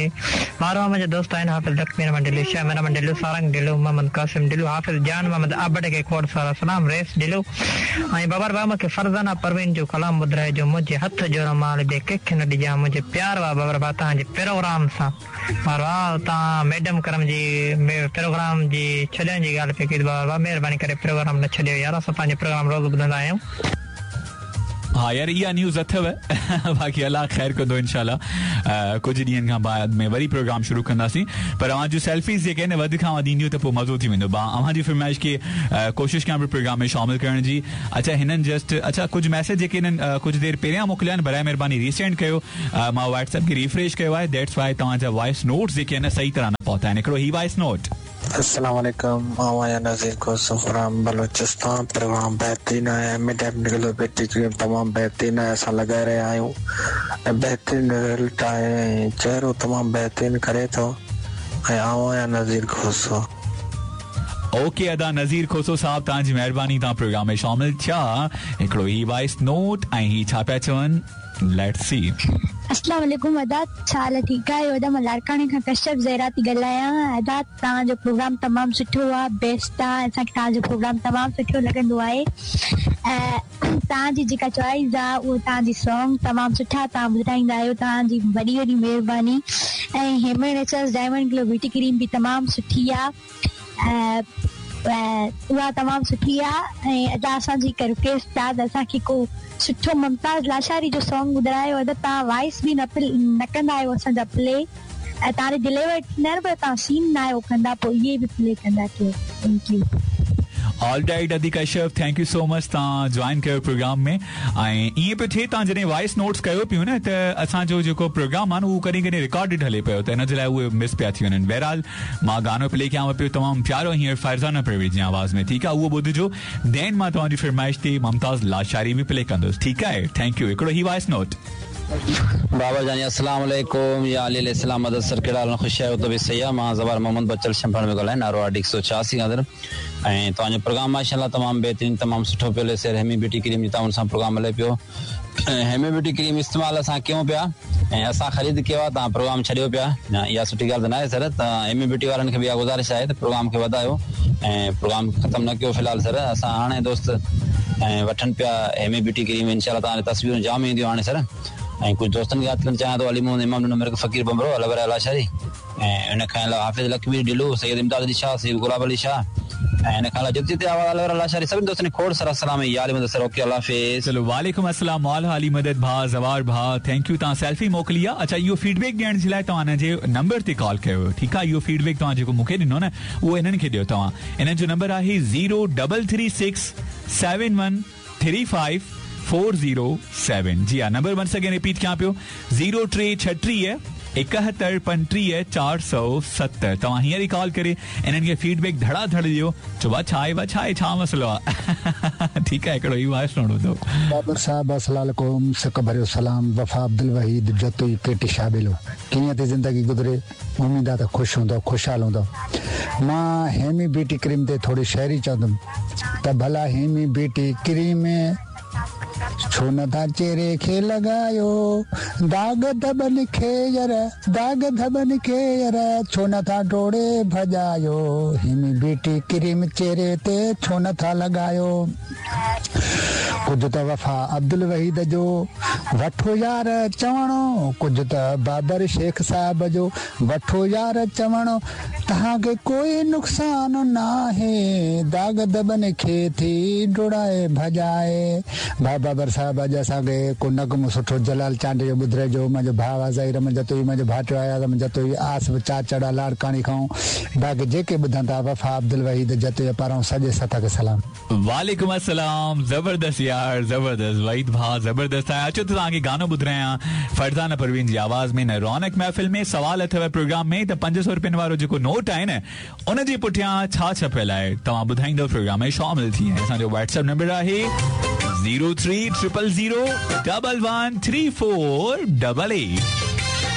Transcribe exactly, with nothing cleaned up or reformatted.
ऐं बारहवां मुंहिंजा दोस्त आहिनि हाफ़िज़ लक्ष्मी रमन डिलू, श्याम रमन डिलू, सारंग डिलू, मोहम्मद कासिम डिलू, हाफ़िज़ जान मोहम्मद आबड़ खे खोड़ सारा सलाम, रेस डिलू ऐं बाबर भाउ मूंखे फरज़ाना परवीन जो कलाम ॿुधाए जो मुंहिंजे हथ जो रुमाल ॿिए कंहिंखे न ॾिजां, मुंहिंजे प्यार आहे बाबर भाउ तव्हांजे प्रोग्राम सां। बाबा तव्हां मैडम करम जी प्रोग्राम जी छॾण जी ॻाल्हि पई कई, बाबा महिरबानी करे प्रोग्राम न छॾियो यार, असां पंहिंजो प्रोग्राम रोज़ ॿुधंदा आहियूं। हा यार इहा न्यूज़ अथव, बाक़ी अलाह ख़ैर कंदो इंशाल्लाह। कुझु ॾींहनि खां बाद में वरी प्रोग्राम शुरू कंदासीं, पर अव्हां जूं सेल्फीज़ जेके आहिनि वधि खां वधि ईंदियूं त पोइ मज़ो थी वेंदो। अव्हां जी फरमाइश खे कोशिशि कयां पियो प्रोग्राम में शामिल करण जी। अच्छा हिननि जस्ट अच्छा कुझु मैसेज जेके हिननि कुझु देरि पहिरियां मोकिलिया आहिनि, बराए महिरबानी रीसेंड कयो। मां व्हाट्सएप खे रिफ्रेश कयो आहे, that's why तव्हांजा वॉइस नोट्स जेके आहिनि सही तरह न पहुता आहिनि। हिकिड़ो ही वॉइस नोट। अस्सलाम वालेकुम, मां आहियां नज़ीर खोसो फ्रॉम बलूचिस्तान। प्रोग्राम बहितरीन आहे, एम टेक्निकल ब्यूटी क्रीम तमामु बहितरीन आहे, असां लॻाए रहिया आहियूं ऐं बहितरीन रिज़ल्ट आहे ऐं चहिरो तमामु बहितरीन करे थो। ऐं आउं आहियां नज़ीर खोसो। ओके अदा नज़ीर खोसो साहब, तव्हांजी महिरबानी, तव्हां प्रोग्राम में शामिल थिया। हिकिड़ो ही वॉइस नोट ऐं ही छा पिया चवनि, let's see. अस्सलाम वालेकुम अदा, छा हाल ठीकु आहियो? अदा मां लाड़काणे खां कश्यप ज़हरा थी ॻाल्हायां। अदा तव्हांजो प्रोग्राम तमामु सुठो आहे, बेस्ट आहे, असांखे तव्हांजो प्रोग्राम तमामु सुठो लॻंदो आहे। ऐं तव्हांजी जेका चॉइस आहे उहो तव्हांजी सॉन्ग तमामु सुठा तव्हां ॿुधाईंदा आहियो, तव्हांजी वॾी वॾी महिरबानी। ऐं Hema Naturals diamond glow beauty cream बि तमामु सुठी आहे, ऐं उहा तमामु सुठी आहे। ऐं अदा असांजी हिकु रिक्वेस्ट आहे त असांखे को सुठो मुमताज़ लाशारी जो सॉन्ग ॿुधायो। अदा तव्हां वॉइस बि न न कंदा आहियो असांजा प्ले, ऐं तव्हां डिलीवर थींदा आहिनि पर तव्हां सीन न आहियो कंदा, पोइ इहे बि प्ले कंदा कयो। Thank you. All right Adi Kashyap, thank you so much, तव्हां जॉइन कयो प्रोग्राम में। ऐं ईअं पियो थिए, तव्हां जॾहिं वॉइस नोट्स कयो पियो न, त असांजो जेको प्रोग्राम आहे न उहो कॾहिं कॾहिं रिकॉर्डेड हले पियो, त हिन जे लाइ उहे मिस पिया थी वञनि। बहरहाल मां गानो प्ले कयांव पियो तमामु प्यारो हींअर फरज़ाना परवेज़ जी आवाज़ में, ठीकु आहे, उहो ॿुधजो। Then मां तव्हांजी फरमाइश ते मुमताज़ लाशारी बि प्ले कंदुसि, ठीकु आहे। Thank you. हिकिड़ो ही वॉइस नोट। बाबा जानी अस्सलाम वालेकुम, या अली अलैहिस्सलाम मदद सर, कहिड़ा हाल ख़ुशि आहियो? तबियत सही आहे? मां ज़वार मोहम्मद बचल शंभण में ॻाल्हायां, नारो आर हिकु सौ छियासी खां। ऐं तव्हांजो प्रोग्राम माशाअल्लाह तमामु बहितरीन, तमामु सुठो पियो हले। सर हेमी ब्यूटी क्रीम जी तव्हां सां प्रोग्राम हले पियो। हेमी ब्यूटी क्रीम इस्तेमालु असां कयूं पिया ऐं असां ख़रीद कयो आहे, तव्हां प्रोग्राम छॾियो पिया, इहा सुठी ॻाल्हि त न आहे सर। त हेमी ब्यूटी वारनि खे बि इहा गुज़ारिश आहे त प्रोग्राम खे वधायो ऐं प्रोग्राम ख़तमु न कयो फ़िलहाल सर। असां हाणे दोस्त ऐं वठनि पिया हेमी ब्यूटी क्रीम, इंशाअल्लाह तव्हांजी तस्वीरूं जाम ईंदियूं हाणे सर। ऐं कुझु दोस्तनि खे यादि करणु चाहियां थो, अली मोहम्मद इमाम ॾिनो मिर्ग फ़क़ीर बंबरो, अलवर लाशारी, ऐं हुन खां अलावा हाफ़िज़ लखवीर डिलू, सैयद इमदाद अली शाह, सैयद गुलाब अली शाह, ऐं हिन खां अलावा जिते जिते आवाज़ अलवर लाशारी, सभिनी दोस्तनि खे खोड़ सारा सलाम। या अली मदद सर, ओके अल्लाह हाफ़िज़। चलो वालेकुम अस्सलाम, मौला अली मदद भाउ, ज़वार भाउ, thank you, तव्हां सेल्फी मोकिली आहे। अच्छा इहो फीडबैक ॾियण जे लाइ तव्हां हिन जे नंबर ते कॉल कयो, ठीकु आहे। इहो फीडबैक तव्हां जेको मूंखे ॾिनो न, उहो हिननि खे ॾियो तव्हां। हिननि जो नंबर आहे zero double three six seven one three five four zero seven. जी हा, नंबर वंस अगेन रिपीट कयां पियो, ज़ीरो टे छटीह एकहतरि पंटीह चारि सौ सतरि। तव्हां हींअर ई कॉल करे इन्हनि खे फीडबैक धड़ाधड़ ॾियो, चओ भाउ छा आहे, भाउ छा आहे, छा मसइलो आहे। ठीकु आहे, हिकिड़ो ई वॉइस नोट ॿुधो। बाबर साहब अस्सलाम वालेकुम, सिक भरियो सलाम। वफ़ा अब्दुल वहीद जतोई केटी शाबिलो, कीअं थी ज़िंदगी गुज़रे? उम्मीद आहे त ख़ुशि हूंदो, ख़ुशहाल हूंदो। मां हेमी ब्यूटी क्रीम ते थोरी शाइरी चवंदुमि त भला हेमी ब्यूटी क्रीम छो नथा चेहरे खे लॻायो, दाग धबनि खे यार, दाग धबनि खे यार, छो नथा ढोड़े भॼायो, हेमी ब्यूटी क्रीम चेहरे ते छो नथा लॻायो। कुझु त वफ़ा अब्दुल वहीद जो वठो यार चवणो, कुझु त बाबर शेख साहब जो वठो यार चवणो, तव्हांखे कोई नुक़सानु नाहे, दाग धबनि खे थी ढोड़ाए भॼाए। भाउ बाबर साहब अॼु असांखे को नगमो सुठो जलाल चांडियो जो ॿुधाइजो। मुंहिंजो भाउ आहे ज़हीर जतोई, मुंहिंजो भाटियो आहे जतोई, आसिफ़ चाचड़ा लाड़काणे खां, बाक़ी जेके ॿुधनि था वफ़ा अब्दुल वहीद जतोई पारां सॼे सथ खे सलाम। वालेकुम अस्सलाम। ज़बरदस्त यार, ज़बरदस्त वहीद भाउ, ज़बरदस्त आहे। अचो त तव्हांखे गानो ॿुधायां फरज़ाना परवीन जी आवाज़ में। न रौनक महफ़िल में सवाल अथव प्रोग्राम में त पंज सौ रुपयनि वारो जेको नोट आहे न, उन जे पुठियां छा छपियल आहे, तव्हां ॿुधाईंदो प्रोग्राम में शामिल थी। असांजो व्हाट्सएप नंबर आहे zero three triple zero double one three four double eight.